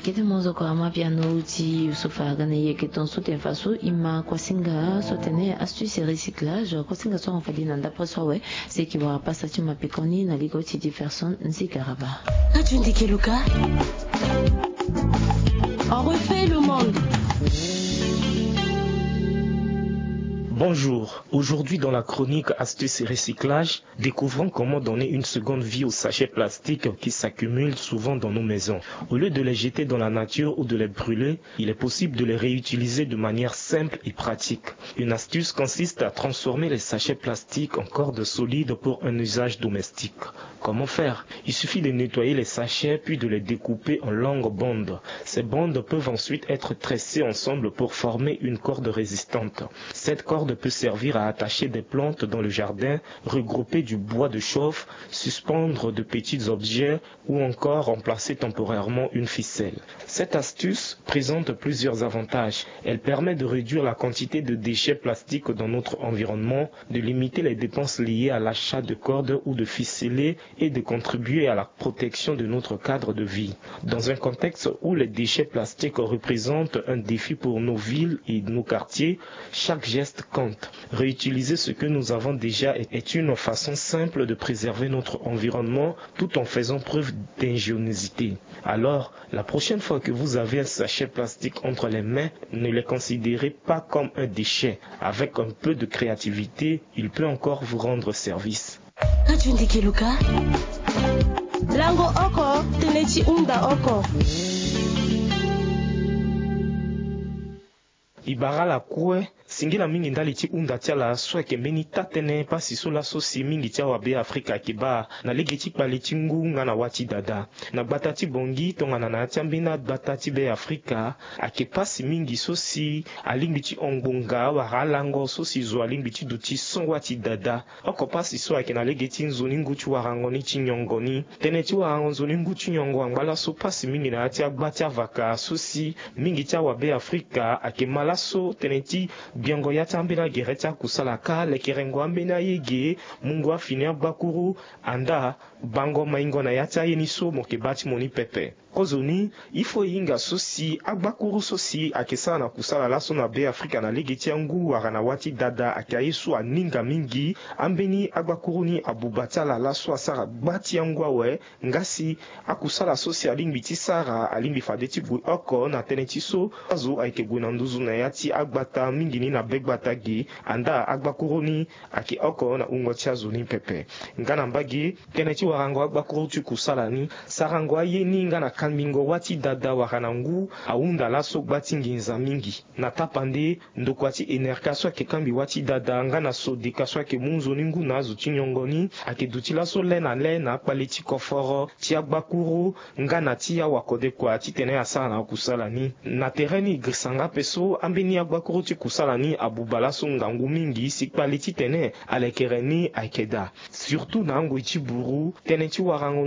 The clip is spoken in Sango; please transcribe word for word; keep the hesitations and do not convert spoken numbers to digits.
Kete monzo ko ama piano ti Yusufa Gana, ye ke ton so tene fa so i ma kuasinga so tene astuce et recyclage, kuasinga so afa di na ndapre so awe, se ki wara pasa ti ma pekoni na ligo ti Jefferson Nzikaraba. Ka tu ndike luka. On refait le monde. Bonjour. Aujourd'hui, dans la chronique Astuces et recyclage, découvrons comment donner une seconde vie aux sachets plastiques qui s'accumulent souvent dans nos maisons. Au lieu de les jeter dans la nature ou de les brûler, il est possible de les réutiliser de manière simple et pratique. Une astuce consiste à transformer les sachets plastiques en corde solide pour un usage domestique. Comment faire ? Il suffit de nettoyer les sachets puis de les découper en longues bandes. Ces bandes peuvent ensuite être tressées ensemble pour former une corde résistante. Cette corde peut servir à attacher des plantes dans le jardin, regrouper du bois de chauffe, suspendre de petits objets ou encore remplacer temporairement une ficelle. Cette astuce présente plusieurs avantages. Elle permet de réduire la quantité de déchets plastiques dans notre environnement, de limiter les dépenses liées à l'achat de cordes ou de ficelets et de contribuer à la protection de notre cadre de vie. Dans un contexte où les déchets plastiques représentent un défi pour nos villes et nos quartiers, chaque geste compte. Réutiliser ce que nous avons déjà est, est une façon simple de préserver notre environnement tout en faisant preuve d'ingéniosité. Alors, la prochaine fois que vous avez un sachet plastique entre les mains, ne le considérez pas comme un déchet. Avec un peu de créativité, il peut encore vous rendre service. Ka tu ndike luka. Lango oko, tene ti hunda oko. I bara lakue, singila mingi ndali ti hunda ti ala so ayeke mbeni taa-tënë pasi so laso si mingi ti awabe Afrika ayeke baa na lege ti kpale ti ngu nga na wâ ti dada. Na gbata ti Bangui tongana na ya ti ambeni agbata ti Be Afrika, ayeke pasi mingi so si alingbi ti hon ngbonga wala alango so si zo alingbi ti duti so wâ ti dada. Oko pasi so ayeke na lege ti nzoni ngu ti warango ni ti nyongo ni. Tënë ti warango nzoni ngu ti nyongo angba laso pasi mingi na ya ti agba ti avaka so si mingi ti awabe Afrika ayeke ma laso tënë ti gbiango ya ti ambeni agere ti akusala ka lekerengo ambeni ayege, mungo afini agbakuru, andaa bango maingo na ya ti aye ni so mo yeke baa ti mo ni pepe. Kozoni, il faut e hinga so si agbakuru so si ayeke sara na kusala laso na Be Afrika na lege ti angu wala na wâ ti dada ayeke aye so aninga mingi. Ambeni agbakuru ni abuba ti ala laso asara gba ti angu awe. Nga si akusala so si alingbi ti sara alingbi fade ti gue oko na tënë ti so azo ayeke gue na nduzu na ya ti agbata mingi ni na be gbata ge, andaa agbakuru ni ayeke oko na wungo ti azo ni pepe. Nga na mbage, tënë ti warango agbakuru ti kusala ni, sarango aye ni nga na kambingo wâ ti dada wala na ngu ahunda laso gba ti nginza mingi. Na tapande, ndokua ti enerka so ayeke kangbi wâ ti dada nga na sodeka so ayeke mu nzoni ngu na azo ti nyongo ni ayeke duti laso le na le na akpale ti koforo ti agbakuru nga na ti awakodekua titene asara na akusala ni. Na tere ni e girisa nga ape so ambeni agbakuru ti kusala ni abuba laso ngangu mingi si kpale titene alekere ni ayeke daa. Surtout na angoi ti buru, tënë ti warango